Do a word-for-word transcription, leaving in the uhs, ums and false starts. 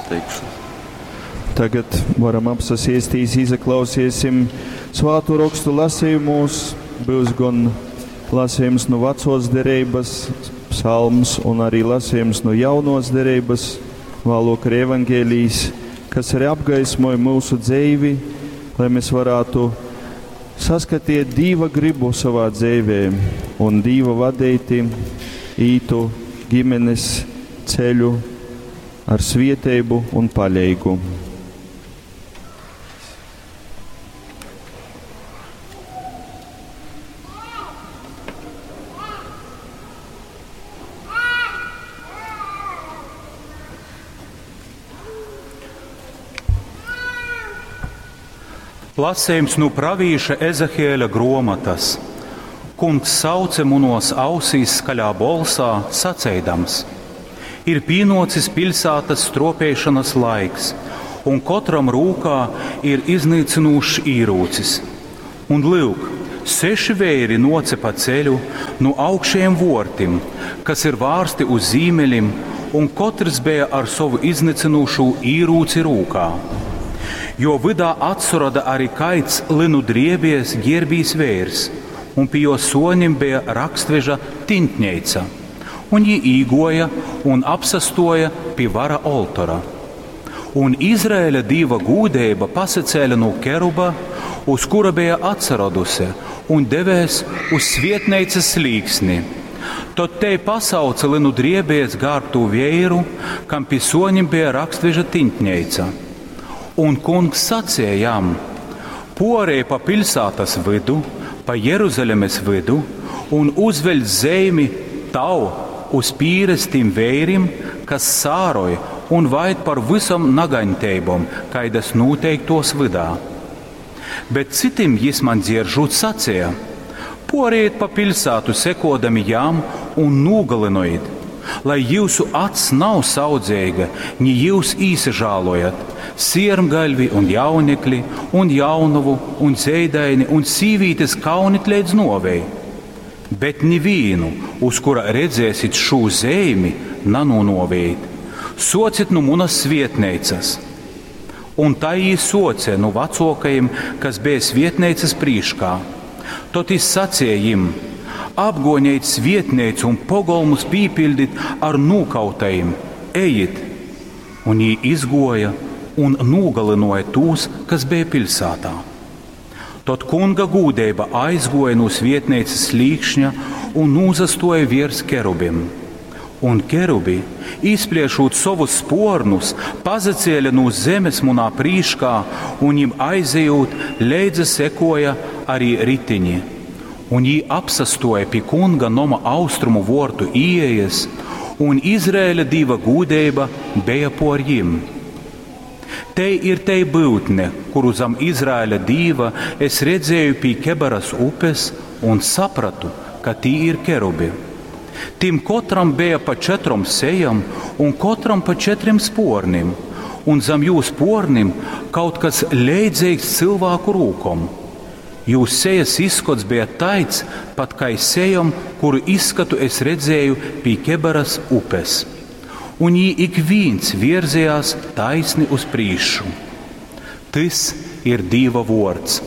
Teikšu. Tagad varam apsasiestīs, izaklausiesim svātu rokstu lasījumos. Būs gan lasījums no vecos derības, psalms un arī lasījums no jaunos derības, vēlāk arī evangēlijs, kas arī apgaismoja mūsu dzīvi, lai mēs varētu saskatiet Dīva gribu savā dzīvē un Dīva vadīti ītu ģimenes ceļu ar svieteibu un paļeigu. Lasījums no pravīša Ezehieļa gromatas. Kungs sauce munos ausīs skaļā bolsā, saceidams: Ir pienocis pilsētas stropēšanas laiks, un kotram rūkā ir iznīcinošs īrūcis. Un lūk, seši vēri nocepa ceļu no augšējiem vortim, kas ir vārsti uz zīmeļiem, un kotrs bija ar savu iznīcinošo īrūci rūkā. Jo vydā atsurada arī kaits linu driebies ģērbīs vērs, un pie jo sonim bija rakstveža tintņeica. Un jī īgoja un apsastoja pie vara oltora. Un Izraēļa dīva gūdeiba pasacēla no keruba, uz kura bija atsaraduse, un devēs uz svietneicas slīksni. Tad te pasauca linu driebies gārbtu vēru, kam pie sonim bija rakstveža tintņeica. Un kungs sacīja jam: Porēj pa pilsētas vidu, pa Jeruzalemes vidu, un uzveļ zeimi tau uz pīres tim vērim, kas sāroja un vaid par visam nagaņteibom, kaidas noteiktos vidā. Bet citim jis man dzieržūt sacīja: Porējiet pa pilsētu sekodami jām un nogalinojiet, lai jūsu acs nav saudzīga, ni jūs īsažālojat, siermgaļvi un jaunekli, un jaunavu, un zeidaini, un sīvītes kaunit līdz novei. Bet nevienu, uz kura redzēsit šo zeimi, nanonovējit. Socit nu munas svietneicas. Un tai jī soce nu vecākajiem, kas bija svietneicas prīškā. Tot jis sacīja jim: Apgoniet svietneicu un pogolmus pīpildit ar nūkautajiem, ejit! Un jī izgoja un nogalinoja tos, kas bija pilsētā. Tad kunga gūdeiba aizgoja no svietneicas slīkšņa un nūzastoja virs kerubim. Un kerubi, izpliešot savus spornus, pazacēla no zemes munā prīškā, un jim aizejot, leidza sekoja arī ritiņi. Un jī apsastoja pie kunga noma austrumu vortu ieejas, un Izraēļa diva gūdeiba bija por jim. Te ir te būtne, kuru zem Izraēļa dīva es redzēju pie Kebaras upes un sapratu, ka tī ir kerubi. Tim kotram bija pa četrom sejam un kotram pa četriem spornim, un zem jū spornim kaut kas leidzīgs cilvēku rūkom. Jūs sejas izskots bija taids, pat kā sejam, kuru izskatu es redzēju pie Kebaras upes. Un jī ik viens virzījās taisni uz prīšu. Tas ir Dīva vords.